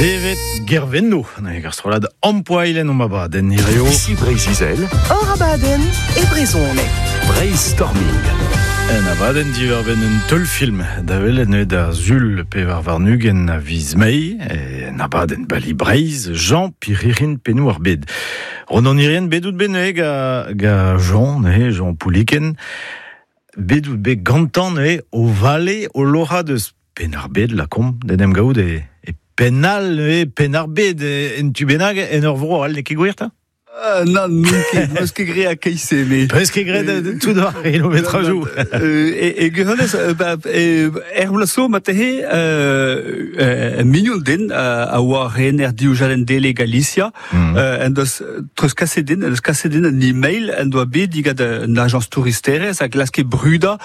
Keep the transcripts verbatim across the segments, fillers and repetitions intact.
Devet Gervenno, na ar strollad ampoailen om abadenn hirio. Ici Breizh-Izel, Hor abadenn e brezhoneg. Breizhstorming. En abadenn diwar-benn un teulfilm da welet neuze da sul pevar warn-ugent a viz Mae, en abadenn Bali Breizh, Jean Pirhirin Pennoù ar Bed. Ronan Hirrien bet out bet neuze ga, ga Jean, neuze, Jean Pouliken, bet out bet gantañ neuze o vale o loc'hañ deus Penn-ar-Bed lakaomp d'en em gaout e, e Pennal neuze Penn-ar-Bed en tu bennak en ur vro all n'eo ket gwir 'ta? Euh, non, n'on ket, n'eus ket graet a-keit-se, mais... Peus ket graet euh, tout ar kilometrajoù. Euh, e, e gwirionez, euh, ba, e, er bloaz zo marteze, euh, euh, mignon din euh, a oa rener div chadenn dele Galicia, Mm. euh, en deus treuzkaset din, en deus kaset din un e-mail en doa bet digat un ajañs touristerezh a glaske brudañ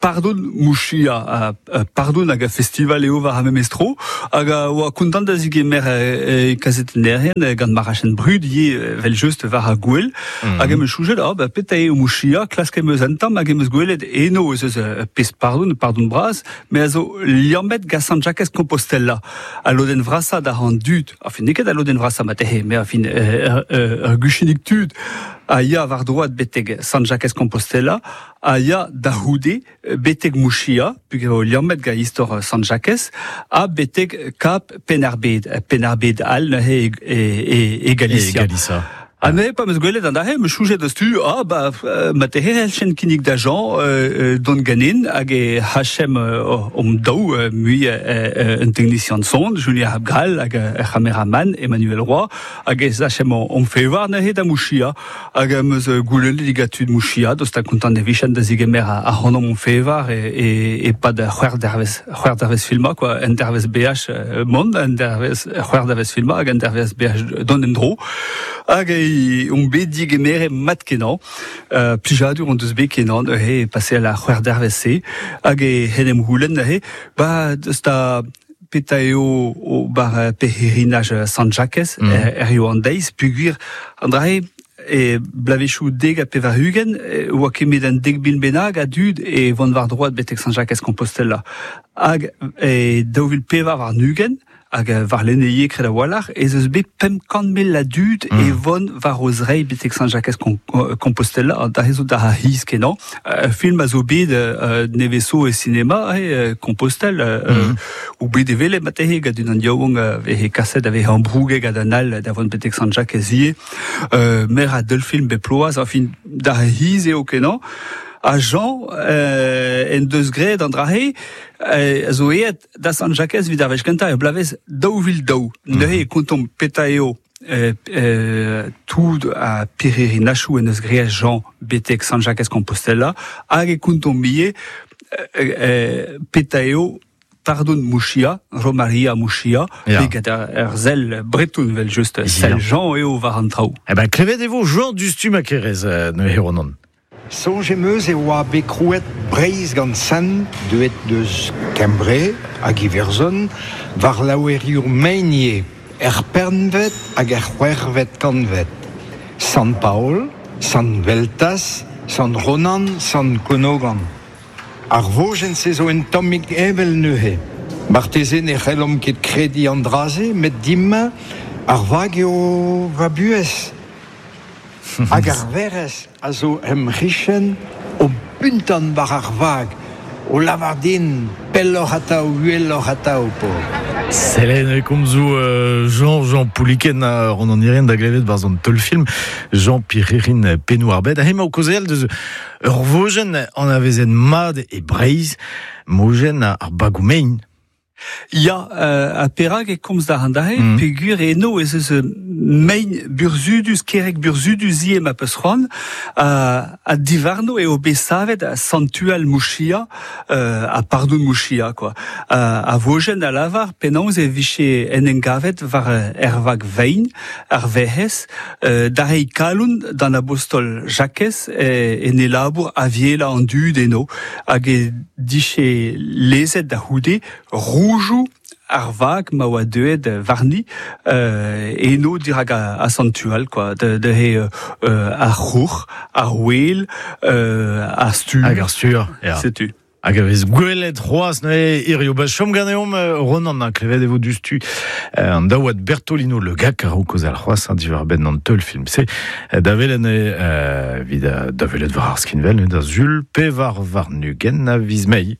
pardon Muxía, a, a pardon hag a festival eo war ar memes tro, hag a oa kontant da zigemer e, e kazetennerien eh, gant ma rachen brud ivez evel just war ar gouel, Mm. hag em eus soñjet, ah, ba, petra eo Muxía, klask em eus un tamm, hag em eus gwelet eno ez eus euh, pezh pardon, pardon bras, me a zo liammet gant Sant Jakez Compostela, a lodenn vrasañ da an dud, enfin n'eo ket a lodenn vrasañ marteze, mais enfin ur ur guchennig tud a ya war droad betek Sant Jakez Compostela, a ya da c'houde betek Muxía, peogwir eo liammet gant istor Sant Jakez, ha betek Kap Penn-ar-Bed, Penn-ar-Bed all neuze e, e, e, e Galicia. E Galicia. Ha neuze pa 'm eus gwelet an dra-se, 'm eus soñjet diouzhtu, ah ba euh, marteze c'helljen kinnig da Jean euh, euh, dont ganin hag e hachem euh, om daou euh, mui euh, euh, un technicien son, Julien Abgral hag ur c'hameraman Emmanuel Roy, hag e sachem om fevar neuze da Muxía, hag em eus goulennet digat tud Muxía, daoust ha kontant e vijent da zigemer a, ac'hanomp hon fevar e, e, e-pad c'hwec'h dervezh, c'hwec'h dervezh filmañ, quoi, un dervezh beaj euh, mont, un dervezh c'hwec'h dervezh filmañ hag un dervezh beaj dont en-dro. Hag e on bet digemeret mat kenañ, euh, plijadur hon deus bet kenañ neuze paseal ar c'hwec'h dervezh-se, hag e en em c'houlenn neuze, ba deus da petra eo o bar pèlerinaj Sant Jakez, Mm. er, er eo an deiz, peogwir an dra-se e bloavezhioù dek ha pevar-ugent, e oa kemet an dek mil bennak a dud e vont war droad betek Sant Jakez Compostela. Hag e daou vil pevar warn-ugent, hag warlene ivez kred a-walc'h, ez eus bet pemp kant mil a dud Mm. e vont war o zreid betek Sant Jakez Compostela, da zo da hiz kenañ. Ur film a zo bet euh, nevez zo e sinema, e Compostelle, euh, Mm. ou bet evel marteze gant unan yaouank veze kaset a veze ambrouget gant an all da vont betek Sant Jakez ivez. Euh, mer a deulfilm bet ploaz, enfin, da hiz eo kenañ. Ha Jean euh, en deus graet an dra-se, euh, a zo aet da Sant Jakez evit ar wech kentañ er bloavezh daou vil daou. Neuze e kontomp petra eo euh, euh, tout a pèlerinajoù en deus graet Jean betek Sant Jakez Compostela, hag e kontomp ivez euh, euh, petra eo pardon Muxía, Romaria Muxía, Ya. pe gant ar, ar sell breton evel just, Ya. sell Jean eo war an traoù. Eh ben, klevet e vo Jean diouzhtu ma kerez, euh, neuze Ronan. Soñj em eus e oa bet krouet Breizh gant sent deuet deus Kembre hag Iwerzhon war laouerioù mein ivez, er pempvet hag er c'hwec'hvet kantved. Sant Paol, Sant Weltas, Sant Ronan, Sant Konogan. Ar vojenn-se zo un tammig heñvel neuze. Marteze ne c'hellomp ket krediñ an dra-se, met din-me ar vag eo va buhez. Hag ar Werc'hez a zo em c'hichen o puntan war ar vag, o lavar din pelloc'h atav, uheloc'h atav, Paol. Sell e komzoù euh, Jean Jean Pouliken a Ronan Hirrien da glevet barzh an teulfilm Jean Pirhirin Pennoù ar Bed ha hemañ o kaozeal deus ur vojenn anavezet mat e Breizh mojenn ar bagoù mein. Ya, euh, ha perak e komz da an dra-se, Mm. peogwir eno ez eus mein burzhudus, kerreg burzhudus ivez ma peus c'hoant, ha, ha diwarno eo bet savet a santual Muxía, euh, ha pardon Muxía, quoi. Ha, a vojenn a lavar penaos e vije en em gavet war er vag vein, ar Werc'hez, euh, da reiñ kalon d'an abostol Jakez e, en e labour avielañ an dud eno, hag e dije lezet da c'houde roudoù ar vag ma oa deuet warni euh, eno dirak a, a santual, quoi, de, de he, euh, ar c'houc'h, ar ouel, euh, ar stur. Hag ar stur, ya. Setu. Hag a vez gwelet c'hoazh neuze hirio ba chom ganeomp Ronan a klevet e vo dustu an daouad Bertolino Le Gac a raok al c'hoazh an diwar benn an teul film se da welet neuze evit da welet war ar skinvel neuze da zul pevar warn-ugent a viz Mae.